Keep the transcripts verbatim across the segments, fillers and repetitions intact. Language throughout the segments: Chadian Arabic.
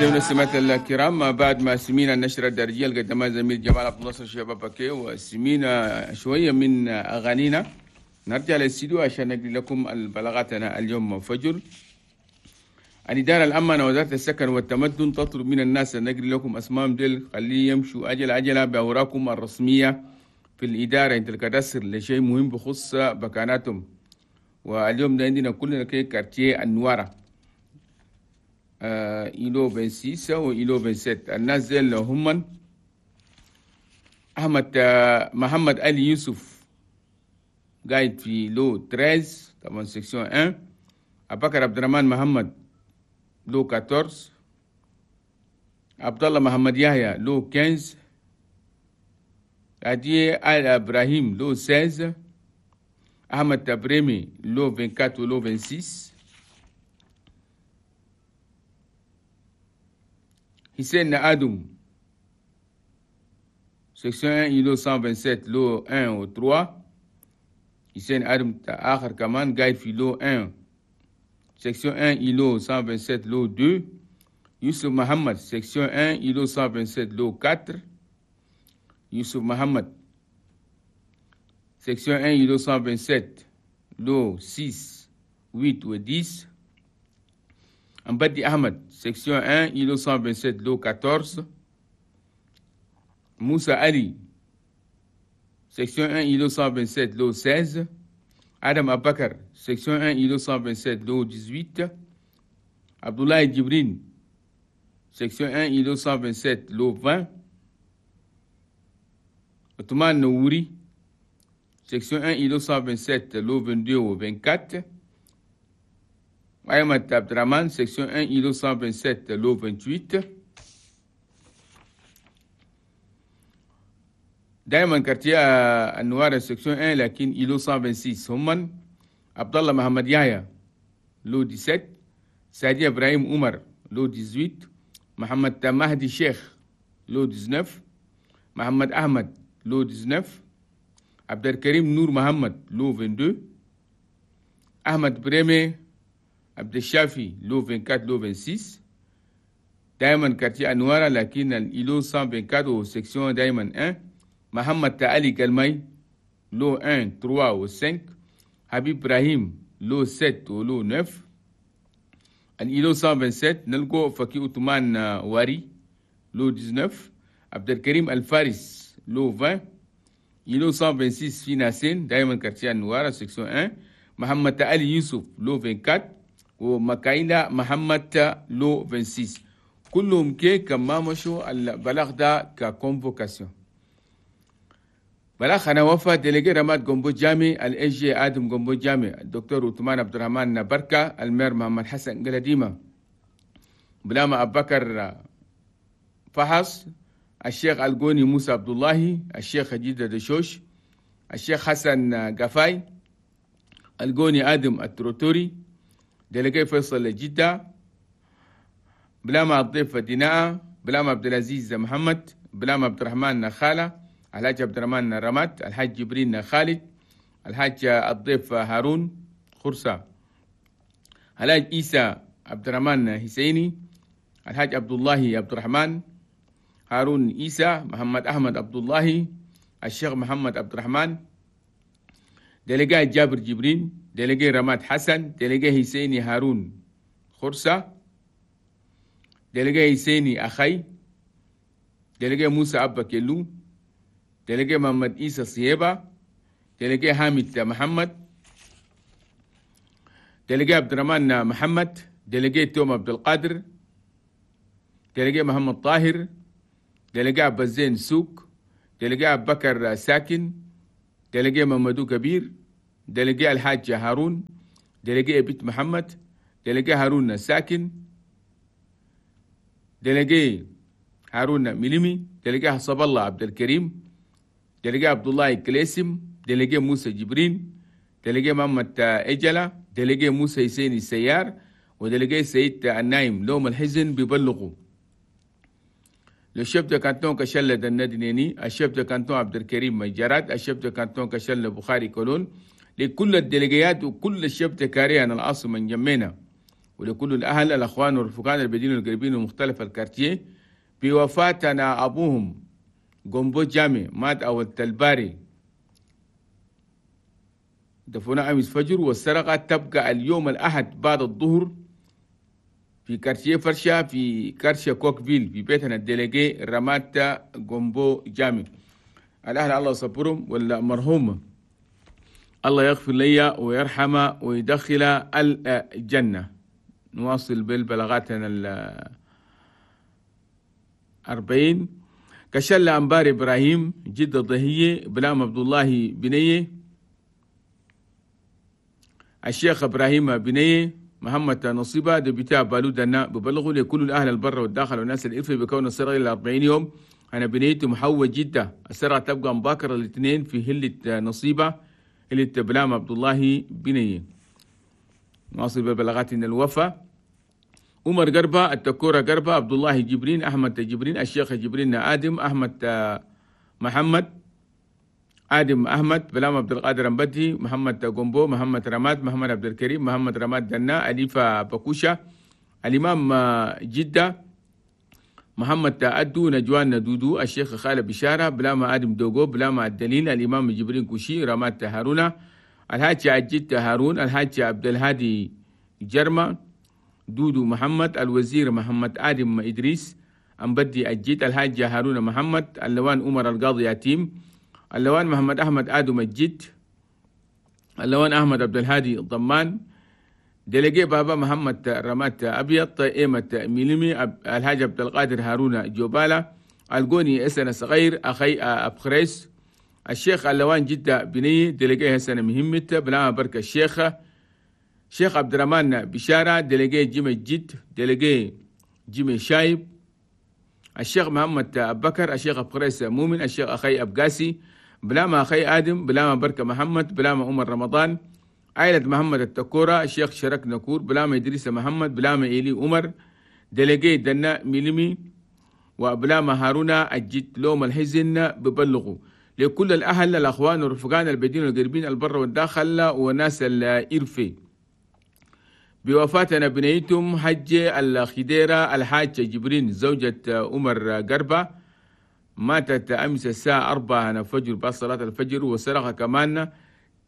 والمستمعات الكرام، بعد ما سمينا النشرة الدارجية اللي قدمها زميل جمال عبد الناصر شباب بكي وسمينا شوية من أغانينا، نرجع للاستديو عشان نقري لكم البلاغاتنا اليوم فجر. الإدارة الأمانة وزارة السكن والتمدن تطلب من الناس أن نقري لكم أسمائهم ديل، خليه يمشوا أجل عجلة بأوراقهم الرسمية في الإدارة عند ال cadastre لشيء مهم بخص بكاناتهم. واليوم ده عندنا كلنا كي quartier النوارة آه îlot vingt-six و îlot vingt-sept. الناس ديل هم أحمد آه محمد علي يوسف قاعد في lot treize طبعا section واحد، أبو بكر عبد الرحمن محمد lot أربعتاشر، عبد الله محمد يحيى lot خمستاشر، عدي آل إبراهيم lot ستاشر، أحمد تبريمي lot أربعة وعشرين و lot ستة وعشرين، حسين آدم section واحد îlot مية وسبعة وعشرين lot واحد و ثلاثة، حسين آدم آخر كمان قاعد في lot واحد section واحد îlot مية وسبعة وعشرين lot اثنين، يوسف محمد section واحد îlot مية وسبعة وعشرين lot أربعة، يوسف محمد section واحد îlot مية وسبعة وعشرين lot ستة ثمانية و عشرة، أمبدي أحمد section واحد îlot مية وسبعة وعشرين lot أربعتاشر، موسى علي section واحد îlot مية وسبعة وعشرين lot ستاشر، آدم أبو بكر section واحد îlot مية وسبعة وعشرين lot ثمانية عشر، عبد الله جبرين section واحد îlot مية وسبعة وعشرين lot عشرين، عثمان نوري section واحد îlot مية وسبعة وعشرين lot اثنين وعشرين و أربعة وعشرين، أحمد عبد الرحمن section واحد îlot مية وسبعة وعشرين lot ثمانية وعشرين. دائما quartier النوار section واحد لكن îlot مية وستة وعشرين هم عبد الله محمد يحيى lot سبعتاشر، سعدي ابراهيم عمر lot ثمانية عشر، محمد مهدي شيخ lot تسعتاشر، محمد احمد lot تسعتاشر، عبد الكريم نور محمد lot اثنين وعشرين، احمد بريمي عبد الشافي lot أربعة وعشرين lot ستة وعشرين. دائما quartier انوارا لكن ال îlot مية وأربعة وعشرين و section دائما واحد، محمد علي كلمي lot واحد ثلاثة و خمسة، حبيب ابراهيم lot ستة و lot تسعة. ال îlot مية وسبعة وعشرين نلقو فكي عثمان واري lot تسعتاشر، عبد الكريم الفارس lot عشرين، îlot مية وستة وعشرين في ناسين دائما quartier النوارة section واحد، محمد علي يوسف lot أربعة وعشرين، ومكايلا محمد lot ستة وعشرين. كلهم كي كما مشوا البلاغ ده ك convocation. بلاغ أنا وفا délégué رماد جومبو جامي ال SG آدم جومبو جامي الدكتور عثمان عبد الرحمن بركة ال maire محمد حسن قلديمة بلاما أبو بكر فحص الشيخ الجوني موسى عبد الله الشيخ خديجة دشوش الشيخ حسن قفاي الجوني آدم التروتوري délégué فيصل جدة بلاما الضيف ديناء بلاما عبد العزيز محمد بلاما عبد الرحمن نخالة الحاج عبد الرحمن رمات الحاج جبرين خالد الحاج الضيف هارون خرسة الحاج عيسى عبد الرحمن حسيني الحاج عبد الله عبد الرحمن هارون عيسى محمد أحمد عبد الله الشيخ محمد عبد الرحمن délégué جابر جبرين délégué رماد حسن délégué حسيني هارون خرسة délégué حسيني أخي délégué موسى أبا كيلو délégué محمد عيسى صيبة délégué حامد محمد délégué عبد الرحمن محمد délégué توم عبد القادر délégué محمد طاهر délégué عبد الزين سوق délégué أبو بكر ساكن délégué ممدو كبير délégué الحاج هارون délégué بيت محمد délégué هارون ساكن délégué هارون مليمي délégué حسب الله عبد الكريم délégué عبد الله كليسم délégué موسى جبرين délégué محمد إجلة délégué موسى حسين السيار و délégué سيد النايم لوم الحزن بيبلغوا le chef de canton كشلة الندنيني ال chef de canton عبد الكريم مجرات ال chef de canton كشلة بخاري كولون لكل الديليجيات وكل ال chefs de carré العاصمة نجمينا ولكل الأهل الأخوان والرفقان البدين والقريبين ومختلف ال quartiers بوفاتنا أبوهم جومبو جامي مات أول تلباري دفونا أمس فجر. والسرقة تبقى اليوم الأحد بعد الظهر في quartier فرشة في quartier كوكفيل في بيتنا ال délégué رمات جومبو جامي. الأهل الله يصبرهم، والمرحوم الله يغفر لي ويرحمه ويدخل الجنة. نواصل بالبلاغاتنا الأربعين. كشل أنبار إبراهيم جدة ضهية بلام عبد الله بنية الشيخ إبراهيم بنية محمد نصيبة دبتاع بالودنا ببلغوا لكل الأهل البر والداخل والناس الإرفي بكون السرقة إلى أربعين يوم. أنا بنيت محوج جدة السرقة تبقى مباكرة الاثنين في هلة نصيبة هلة بلام عبد الله بنية. نواصل ببلاغات الوفا. عمر قربة التكورة قربة عبد الله جبرين أحمد جبرين الشيخ جبرين آدم أحمد محمد آدم أحمد بلام عبد القادر أمبدي محمد جومبو محمد رماد محمد عبد الكريم محمد رماد دنا أليفة بكوشة الإمام جدة محمد أدو نجوان دودو الشيخ خالد بشارة بلام آدم دوغو بلام الدليل الإمام جبرين كوشي رماد هارونا الحاج عجيت هارون الحاج عبد الهادي جرمة دودو محمد الوزير محمد آدم إدريس أمبدي الجيت الحاج هارون محمد اللوان عمر القاضي يتيم اللوان محمد أحمد آدم الجيت اللوان أحمد عبد الهادي الضمان délégué بابا محمد رمات أبيض إيمة ميلمي الحاج عبد القادر هارون جوبالا القوني إسنا صغير أخي أبخريس الشيخ اللوان جدة بني délégué حسن مهمة بلا بركة الشيخ شيخ عبد الرحمن بشارة délégué جيم الجد délégué جيم شايب الشيخ محمد أبو بكر الشيخ أبخريس مؤمن الشيخ أخي أبقاسي بلاما أخي آدم بلاما بركة محمد بلاما عمر رمضان عائلة محمد التكورة الشيخ شرك نكور بلاما إدريس محمد بلاما إيلي عمر délégué دنا ميلمي وبلاما هارونا الجد لوم الحزن ببلغوا لكل الأهل الأخوان والرفقان البدين والقريبين البر والداخل وناس الإرفي بوفاتنا بنيتم حج الخديرة الحاج جبرين زوجة عمر قربة ماتت أمس الساعة أربعة فجر بعد صلاة الفجر. وسرقة كمان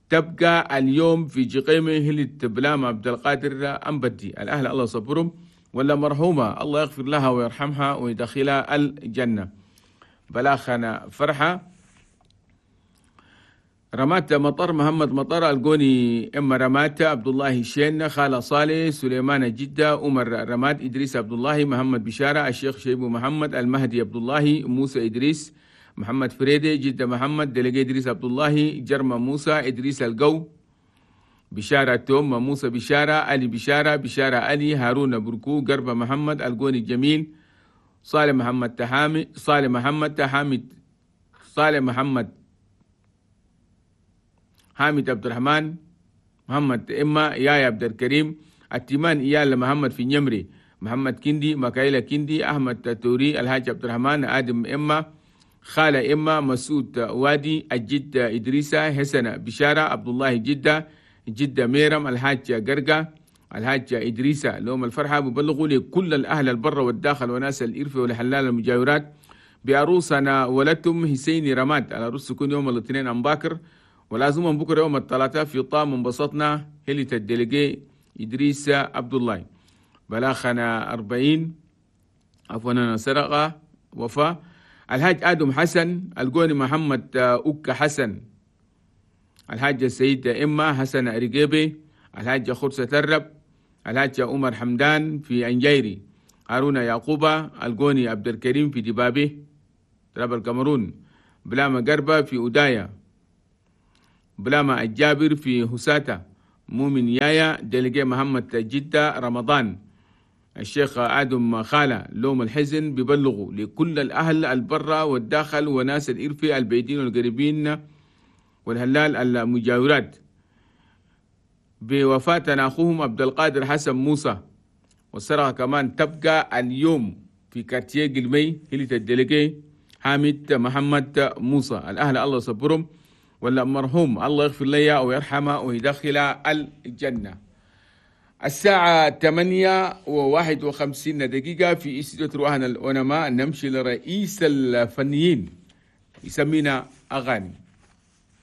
تبقى اليوم في جقيمة هلة بلام عبد القادر أمبدي. الأهل الله صبرهم ولا مرحومة الله يغفر لها ويرحمها ويدخلها الجنة. بلاخنا فرحة رمات مطر محمد مطر القوني إما رمات عبد الله شين خالة صالح سليمان جدة عمر رماد إدريس عبد الله محمد بشارة الشيخ شيبو محمد المهدي عبد الله موسى إدريس محمد فريدي جدة محمد délégué إدريس عبد الله جرمة موسى إدريس القو بشارة توم موسى بشارة علي بشارة بشارة علي هارون بركو قربة محمد القوني الجميل صالح محمد تحامي صالح محمد تحامد صالح محمد حامد عبد الرحمن محمد إما يايا عبد الكريم التيمان إيال محمد في نمري محمد كندي مكايلة كندي أحمد توري الحاج عبد الرحمن آدم إما خالة إما مسعود وادي الجد إدريسة حسن بشارة عبد الله جدة جدة ميرم الحاج قرقة الحاج إدريسة. لهم الفرحة ببلغوا لكل الأهل البر والداخل وناس الإرفة والحلال المجاورات بعروسنا ولدتم حسين رماد. العروس تكون يوم الاثنين أم باكر ولازم بكرة يوم الثلاثاء في طام انبسطنا هلة الدلقي إدريس عبد الله. بلاخنا أربعين عفوا سرقة وفاة الحاج آدم حسن القوني محمد أوكا حسن الحاج السيد إما حسن أريجيبي الحاج خرسة الرب الحاج عمر حمدان في أنجيري هارون يعقوبة القوني عبد الكريم في دبابي تراب الكاميرون بلاما قربة في أودايا بلاما الجابر في هساتا مؤمن يايا délégué محمد جدة رمضان الشيخ آدم خالة. لوم الحزن ببلغوا لكل الأهل البرة والداخل وناس الإرفي البعيدين والقريبين والهلال المجاورات بوفاة أخوهم عبد القادر حسن موسى. والسرقة كمان تبقى اليوم في quartier قلمي هلة ال délégué حامد محمد موسى. الأهل الله صبرهم ولا مرحوم الله يغفر لي ويرحمه ويدخل الجنة. الساعة ثمانية وواحد وخمسين دقيقة في استوديو رواحنا الأونما. نمشي لرئيس الفنيين يسمينا أغاني.